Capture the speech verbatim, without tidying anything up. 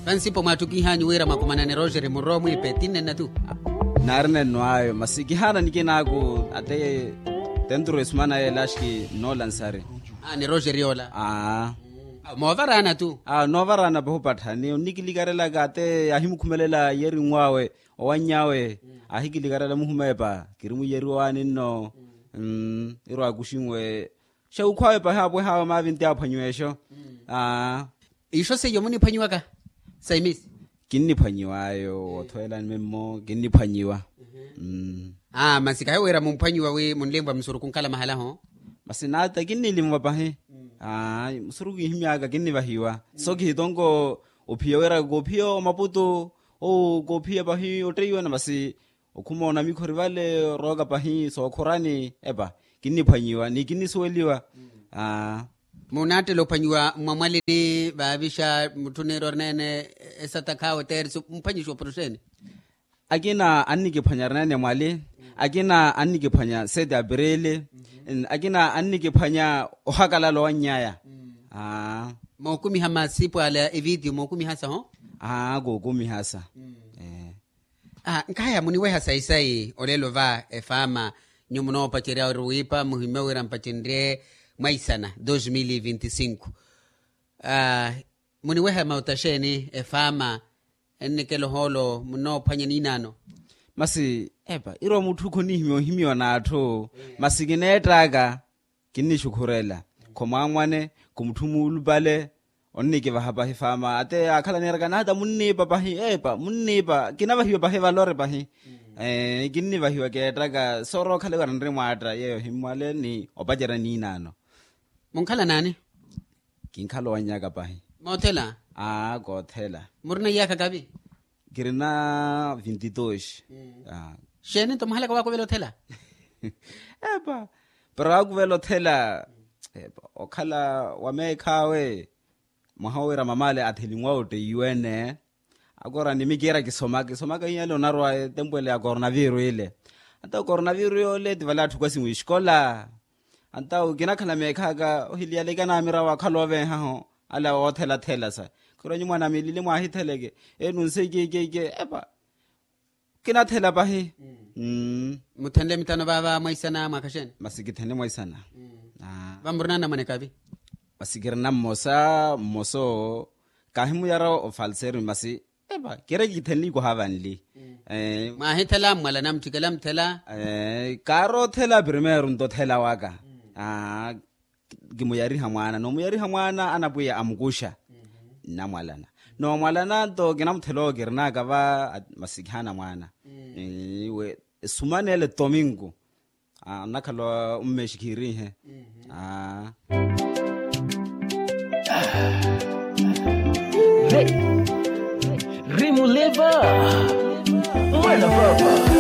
Pansipo mwaattukihanyu wira mwakumanane roxeri muroowa mwiipe tinnenna tu. Naari nenno ayo masi kihaana nikinaaku ate tenturu esumana yeela axiki noolansari. Ni roxeri yoola. Aa. Moovaraana tu. Aa noovaraana pahi opattha ni onnikilikarelaka ate ahimukhumelela yeerinw'awe owanny'awe. Ahikilikarela muhumeepa kiri muyeriwa waani nno. Irwa akuxinwe. Xewukhw'awe pahi apweh'awe maavinti aphwanyiwa exo. Aa. Ixo seiyo muniphwanyiwaka saimisi. Kinniphwanyiw'ayo wothweelani memmo kinniphwanyiwa. Mmm. Aa masi kahi wira mumphwanyiwa wi munlinvwa musurukhu nkhala mahala-ho. Masi naata kinnilinvwa pahi. Aa musurukhu kinhimy'aka kinnivahiwa. So kihitonko ophiya wira koophiya omaputu. Owo koophiya pahi otteiwa na masi okhuma onamikho ori vale orooka pahi sookhorani epa. Kinniphwanyiwa ni kinnisuweliwa. Aa. Munaattela ophwanyiwa mmwamwalini vaavixa mutthu niira orineene esatakh'awe tersu mphwanyixiwa oporoxeeni. Akina annikiphwanya orineene mwali. Akina annikiphwanya sete apirili. Akina annikiphwanya ohakalala owanny'aya. Aa. Mookumiha masipu ala evitiyo mookumihasa ho. Aa kookumihasa. Nkaya muniweha sayi-sayi olelo va efaama. Nyuwo munoopacerya ori wiipa muhimye wira mpacenrye mwaisana dos mil e vinti cinco. Muniweha mauta xeeni efaama ennikela ohoolo munoophwanya niinaano. Masi epa irwa mutthu khonihimya ohimyiwa n'atthu. Masi kineett'aka kinnixukhurela khomwaamwane khumutthu muulupale. Onnikivaha pahi faama ate aakhala niiraka nahata munniipa pahi epa munniipa kinavahiwa pahi valore pahi. Kinnivahiwa keettaka soorookhala iwara nri mwaatta yeeyo himmwale ni opacerya niinaano. Munkhala naani? Kinkhala owannyaka pahi. Moothela? Aa koothela. Murina iyaakha kavi? Kirina vinti dos. Xeeni nto mwahalaka waakuvela othela? Epa pero waakuvela othela. Okhala wa meekh'awe mwaha owira mamale athelinw'awe otteiwe-ene. Akoora ni mikiira kisomaka kisomaka hiyo ele onarwa etempu ele ya koronaviru ile. Anta okoronaviru yoole ti vale atthu kwasi mwixikola. Anta okinakhala meekh'aka ohiliyaleke anaamira waakhala ovenhaho ale woothela-thela sa. Khwiira nyuwo mwanamilili mwaahitheleke enu nse ikeikeike epa. Kinathela pahi. Muthenle mithano vaava mwaisana mwaakha xeeni? Masi kithene mwaisana. Vamurinana mwanekavi? Masi kirina mmosa mmosa owo. Kaahimuyara ofalseri masi epa kiri kithene ikoha vanli. Mwaahithela mmwalana mutthikela muthela? Kaari othela primeiro nto othela waka. Kimuyariha mwaana noomuyariha mwaana anapwiya amukuxa. Nnamwalana noomwalana nto kinamuthela owo kirinaka va. Masi kihaana mwaana. Esumanele tominku. Nnakhala ommeexikhirihe. Rimuleva mwana papa.